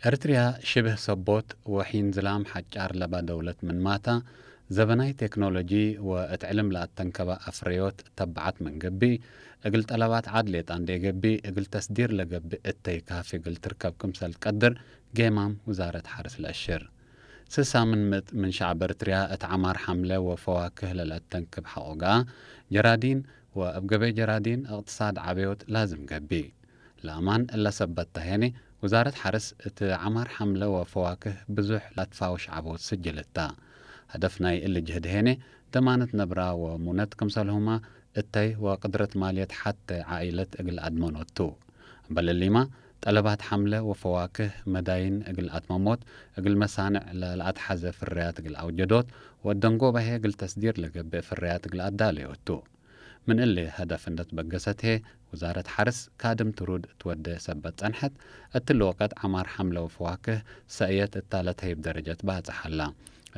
ኤርትርያ ሽብህ ሰቦት ወሒን ዝላም ሓጫር ለባ ደውለት ምንማታ፣ ዘበናይ ቴክኖሎጂ ወእት ዕልም ለኣተንከባ ኣፍረዮት ተባዓት ምንገቢ፣ እግል ጠለባት ዓድ ሌጣ እንዴ ገቢ፣ እግል ተስዲር ለገቢ እተይ ካፊ እግል ትርከብ ክምሰል ቀድር ጌማም ውዛረት ሓርስ ለእሽር። ስሳ ምን ምእት ምን ሸዕብ ኤርትርያ እት ዓማር ሓምለ ወፈዋክህ ለለአተንክብ ሐቆ ገኣ፣ ጀራዲን ወእብ ገበይ ጀራዲን እቅትሳድ ዓበዮት ላዝም ገቢ። ለአማን እለ ሰበት ተሄኒ፣ ውዛረት ሐርስ እት ዓማር ሐምለ ወፈዋክህ ብዙሕ ለትፋውሽ ዓቦት ስጅል እታ። ሀደፍ ናይ እሊ ጅህድ ሄኔ፣ ደማነት ነብራ ወሙነት ክምሰልሁማ እተይ ወቅድረት ማልየት ሐተ ዓኢለት እግል አድመኖት ቱ። እምበል እሊማ፣ ጠለባት ሐምለ ወፈዋክህ መዳይን እግል አትመሞት፣ እግል መሳንዕ ለለአትሐዘ ፍርያት እግል አውጀዶት፣ ወደንጎባሄ እግል ተስዲር ለገብእ ፍርያት እግል አዳለዮት ቱ። ምን እሊ ሀደፍ እንደ ትበገሰት ህዬ፣ ውዛረት ሐርስ ካድም ትሩድ ትወዴ ሰበት ጸንሐት፣ እትሊ ወቀት ዐማር ሐምለ ወፈዋክህ ሰእየት እታ ለተህይብ ደረጀት ባጽሕ ሀላ።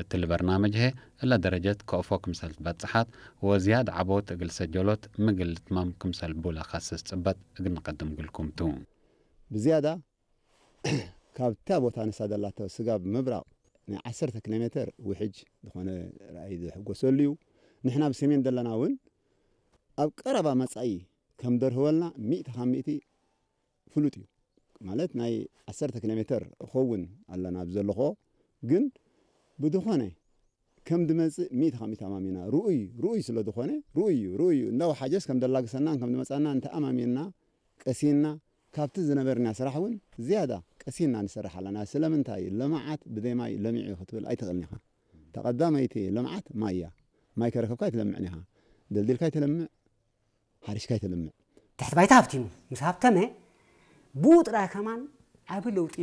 እትሊ በርናመጅ ህዬ እለ ደረጀት ከእፎ ክምሰል ትበጽሓት ወዝያድ ዐቦት እግል ሰጀሎት ምግል ልትመም ክምሰል ቡ ለከስስ ጽበት እግል ንቀድም እግልኩም ቱ። ብዝያዳ ካብታ ቦታ ንሳ ደላቶ ስጋብ ምብራቕ ናይ ዐሰርተ ኪሎ ሜተር ውሕጅ ዝኾነ ራእይ ዝሕጎሰሉ እዩ። ንሕና ብሰሜን ዘለና እውን ኣብ ቀረባ መጻኢ ከም ደርህወልና ሚእቲ ካብ ሚእቲ ፍሉጥ እዩ። ማለት ናይ ዐሰርተ ኪሎ ሜተር እኸውን ኣለና ኣብ ዘለኾ፣ ግን ብዝኾነ ከም ድመጽእ ሚእቲ ካብ ሚእቲ ኣማሚና ርኡይ፣ ርኡይ ስለ ዝኾነ ርኡይ እዩ፣ ርኡይ እዩ። እንዳወሓጀስ ከም ደላግሰናን ከም ድመጻና እንተኣማሚንና ቀሲንና ካብቲ ዝነበርና ስራሕ እውን ዝያዳ ቀሲንና ንሰርሕ ኣለና። ስለምንታይ? ልምዓት ብዘይ ማይ ለሚዑ እዩ ክትብል ኣይትኽእልን ኢኻ። ተቐዳመይቲ ልምዓት ማይ እያ። ማይ ከረከብካ ኣይትለምዕን ኢኻ። ደልዲልካ ኣይትለምዕ፣ ሓሪሽካ ኣይትለምዕ። ትሕቲ ባይታ ሃብቲሙ ምስ ሃብተመ ብኡ ጥራይ ከማን ዓቢ ለውጢ